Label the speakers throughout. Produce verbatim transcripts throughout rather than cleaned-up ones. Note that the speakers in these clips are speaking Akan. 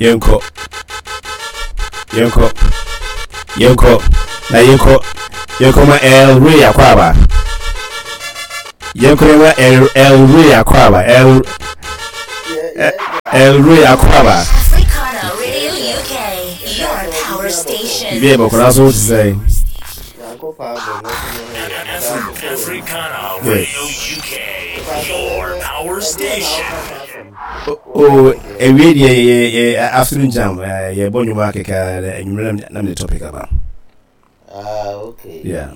Speaker 1: Yɛnkɔ, yɛnkɔ, yɛnkɔ na yɛnkɔ, yɛnkɔ ma El Rey akɔ aba. Yɛnkɔ yɛma El El Rey akɔ aba. El El Rey akɔ aba.
Speaker 2: Africana Radio U K, your power station.
Speaker 1: Bibi yɛ bɔkɔla so te sɛ
Speaker 3: Africana
Speaker 1: Good.
Speaker 3: Radio U K, your power station.
Speaker 1: O ewie deɛ, yɛ yɛ afternoon jam, eh, yɛbɔ nnwom akeka anwummerɛ na na mede topic aba.
Speaker 4: Ah, okay.
Speaker 1: Yeah.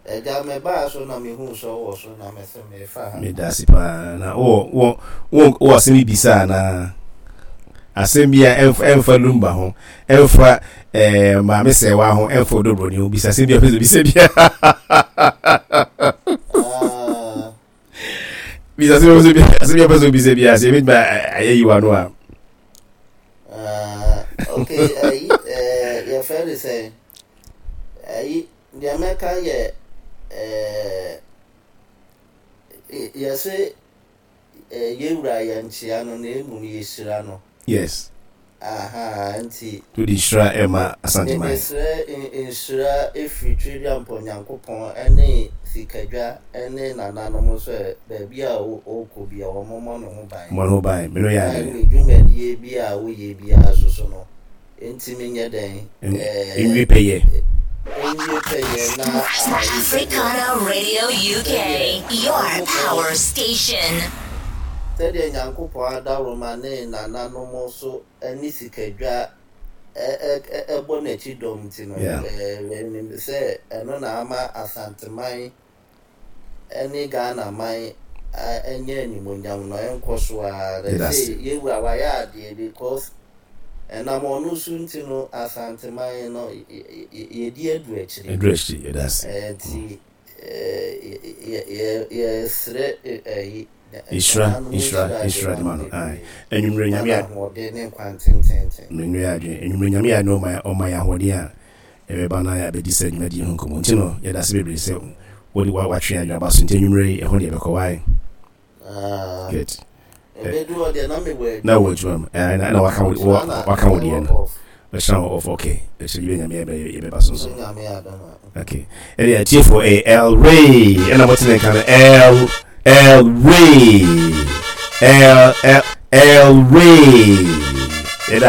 Speaker 4: Ɛgya, mebaa so na mehu sɛ wowɔ so na mesɛ mefa ha.
Speaker 1: Meda ase paa. Na wowɔ wɔ wɔ wɔ asɛm bi bisa anaa asɛm bi a ɛmfa ɛmfa Lumba ho, ɛmfa ɛɛ Maame Sɛwa ho, ɛmfa Odobroni ho, bisa asɛm bi a pɛ sɛ bisa bia.
Speaker 4: Ah,
Speaker 1: bisa asɛm bi a pɛ sɛ bi asɛm bi a pɛ sɛ bisa bia sɛ ebɛtumi ayɛ yiwa no a.
Speaker 4: Ah, okay, ayi, eh, yɛfrɛ no sɛ ayi, deɛ mɛka yɛ eh, yɛse eh, yɛwura yɛnkyea no na mmom yɛhyira no.
Speaker 1: Yes.
Speaker 4: Aha, nti
Speaker 1: wode nhyira ɛma Asanteman.
Speaker 4: Mesrɛ nhyira ɛfiri Tweduampɔ Nyankopɔn ɛne Sikadwa ɛne nananom sɛ baabi a wo- ɔrekɔ bi a wɔmmɔ ne ho ban.
Speaker 1: Mmɔ ne ho ban, mene yɛ
Speaker 4: Na
Speaker 1: adwene.
Speaker 4: Ne dwumadie bi a woyɛ biara so so no ntimi nyɛ dɛn?
Speaker 1: Nwie pɛyɛ.
Speaker 4: Nwie pɛyɛ na
Speaker 2: Africana Radio U K, your power station.
Speaker 4: Sɛdeɛ Nyankopɔn adaworoma ne nananom so ne Sikadwa ɛ- ɛ- ɛ- ɛbɔ n'akyi dɔm nti no,
Speaker 1: Yeah.
Speaker 4: ɛɛ, menim sɛ ɛno na ama Asanteman ne Ghana man a- ɛnyɛ animonyam no ɛnkɔ so a.
Speaker 1: Yɛda ase.
Speaker 4: Sɛ yɛwura wayɛ adeɛ because ɛnam ɔno so nti no Asanteman no y- y- y- yɛdi adu akyiri.
Speaker 1: Ɛduru akyiri, yɛda ase.
Speaker 4: Ɛɛ, nti ɛɛ, yɛ- yɛ- yɛsrɛ ɛyi
Speaker 1: Nhyira,
Speaker 4: nananom
Speaker 1: nhyira,
Speaker 4: de
Speaker 1: nhyira de ma no.
Speaker 4: bebree.
Speaker 1: Aye. Anwummerɛ Nyame
Speaker 4: Na
Speaker 1: a
Speaker 4: ahoɔden ne nkwa tententen.
Speaker 1: Mmerɛ yɛ adwene, anwummerɛ Nyame a ne ɔma ɔma yɛ ahoɔden a ɛbɛba na yɛabɛdi sɛ dwumadie ho nkɔmmɔ nti no, yɛda ase bebree sɛ wode wa- watwe adwene aba so. Nti anwummerɛ yi ɛho deɛ ɛbɛkɔ wae.
Speaker 4: Ah,
Speaker 1: Good.
Speaker 4: ɛbɛdu hɔ deɛ na mewɔ
Speaker 1: Na wɔ adwuma mu. Ɛɛ, na na waka wo
Speaker 4: adwuma.
Speaker 1: wɔ- waka wo deɛ no
Speaker 4: Off.
Speaker 1: bɛhyɛ wo off. Okay, ɛhyɛ bi Nyame yɛbɛ yɛbɛba so nso.
Speaker 4: Nyame adom a.
Speaker 1: Okay, ɛne atiefoɔ, ɛyɛ El Ray ɛna mote ne nka no. El El Ray, El El El Ray, yɛda ase.